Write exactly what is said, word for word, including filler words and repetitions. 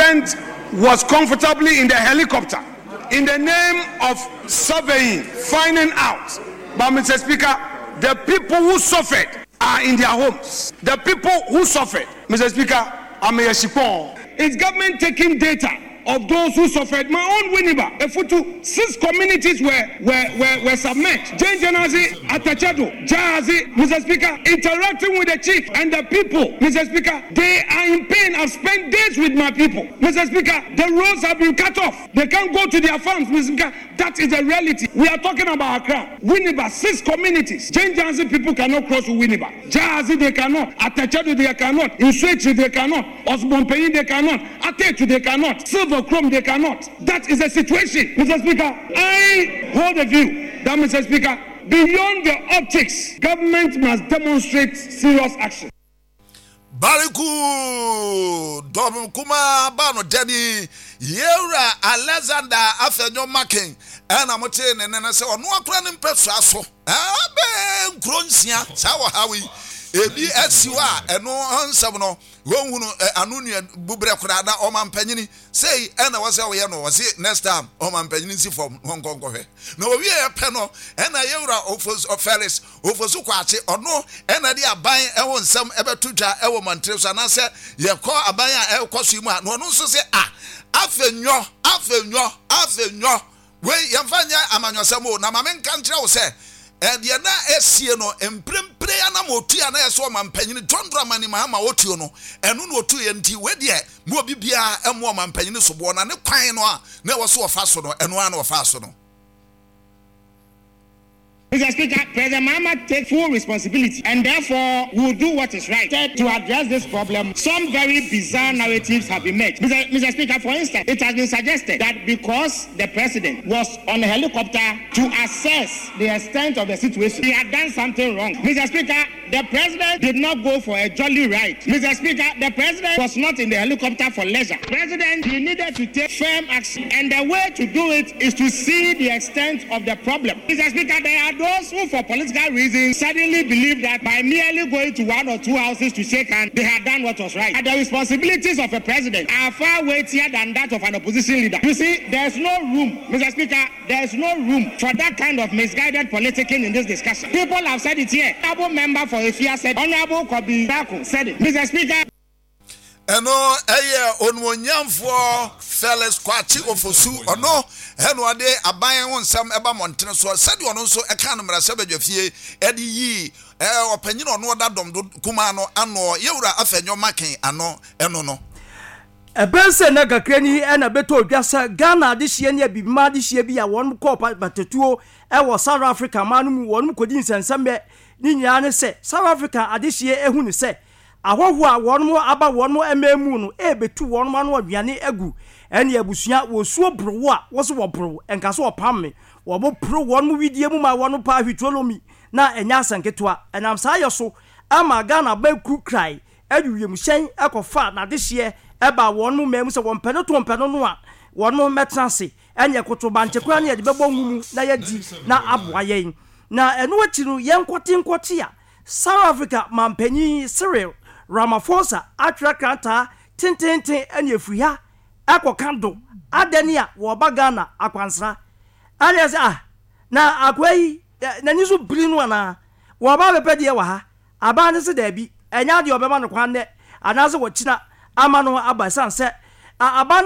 President was comfortably in the helicopter in the name of surveying, finding out. But Mr. Speaker, the people who suffered are in their homes. The people who suffered, Mr. Speaker, I'm a Is government taking data of those who suffered? My own Winneba, Efutu, six communities were, were, were, were submerged. Jane Janazi, Atachado, Jahazi, Mr. Speaker, interacting with the chief and the people, Mr. Speaker, they are in pain. I've spent days with my people. Mr. Speaker, the roads have been cut off. They can't go to their farms, Mr. Speaker. That is the reality. We are talking about Accra. Winneba, six communities. Jane Janazi people cannot cross to Winneba. Jahazi, they cannot. Atachado, they cannot. Nsuechi, they cannot. Osborn they cannot. Atetu, they cannot. Silver Chrome, they cannot. That is the situation. Mr. Speaker, I hold a view that, Mr. Speaker, beyond the optics, government must demonstrate serious action. Bariku dɔm kumaa ba no dani yɛwura Alexander Afenyo Markin ɛna mote ne ne no sɛ ɔno akora ne mpɛsoa so ɛbɛ nkuro nsia saa wɔ ha yi ebi asi hɔ a ɛno nsɛm no wɔnhunu ano nua bubrɛ koraa na ɔma mpanyini sei ɛna wɔ sɛ ɔyɛ no ɔse next time ɔma mpanyini nsi fam na ɔnkɔ nkɔhwɛ na owie pɛ no ɛna yɛwura Felix Ofosu Kwakye ɔno ɛna de aban ɛho nsɛm ɛbɛto dwa ɛwɔ mɔntere so anaasɛ yɛkɔ aban a ɛkɔ so yi mu a na ɔno nso sɛ a afenyo afenyo afenyo wei yɛmfa nyɛ amanyɔsɛm o na maame nka nkyerɛ wo sɛ ɛdeɛ na ɛsie no mprempren anam otu a na yɛ sɛ ɔmampanyini John Dramani Mahama otuo no ɛno na otu yɛ nti wei deɛ mu obi biara ɛmo ɔmampanyini soboɔ na ne kwan no a na ɛwɔ so wɔfa so no ɛno ara na wɔfa so no. Mr. Speaker, President Mahama takes full responsibility and therefore will do what is right to address this problem. Some very bizarre narratives have emerged. Mr. Mr. Speaker, for instance, it has been suggested that because the president was on a helicopter to assess the extent of the situation, he had done something wrong. Mr. Speaker, the president did not go for a jolly ride. Mr. Speaker, the president was not in the helicopter for leisure. President, he needed to take firm action, and the way to do it is to see the extent of the problem. Mr. Speaker, there are those who, for political reasons, suddenly believe that by merely going to one or two houses to shake hands, they had done what was right. And the responsibilities of a president are far weightier than that of an opposition leader. You see, there's no room, Mr. Speaker, there's no room for that kind of misguided politicking in this discussion. People have said it here. Honorable member for Efia said, Honorable Kobi Bako said it. Mr. Speaker, ɛno ɛyɛ onumonyamfoɔ Felix Kwakye Ofosu ɔno ɛna ɔde aban ho nsɛm ɛba mmɔntene soɔ sɛdeɛ ɔno nso ɛka no mmarahyɛ badwa fie ɛde yii ɛɛ ɔpanyin ɔno ɔda dɔm do kumaa no ano yɛwura Afenyo Markin ano ɛno no. ɛbɛn sɛ na kakra ni ɛna bɛtɔ odwa sɛ Ghana adehyeɛ ne abibima adehyeɛ bi a wɔn kɔɔ batatuo ɛwɔ South Africa man no mu wɔn kɔdi nsɛnsɛmbɛ ne nyinaa ne sɛ South Africa adehyeɛ ehu ne sɛ ahɔhoɔ a wɔn aba wɔn mmaa mu no ɛrebɛtu wɔn ano aduane agu ɛne abusua wɔsuo borowo a wɔso wɔboro nka so wɔpam me wɔn poro wɔn widie mu ma wɔn pa ahwitolomi na ɛnyɛ asɛnketewa ɛnam saa yɛ so ama Ghana bɛku krae ɛde wiemhyɛn ɛkɔfa n'adehyeɛ ɛba wɔn mmaa mu sɛ wɔn mpɛ no to mpɛ no no a wɔn mɛtena ase ɛne ɛkoto bankye koraa ne yɛde bɛbɔ ngu mu na yɛdi na aboa yɛn na ɛno akyi no yɛn nkɔte nkɔte a South Africa mampanyin Cyril Ramaphosa atwerɛ krataa tententen ɛne efiri ha ɛkɔka do adani a wɔba Ghana akwansra ɛne sɛ ah na akoa yi n'ani so biri no anaa wɔba bɛpɛ deɛ wɔ ha aban ne sɛ daabi ɛnyɛ adeɛ ɔbɛma no kwan dɛ anaasɛ wɔkyina ama no aba ɛsiane sɛ aban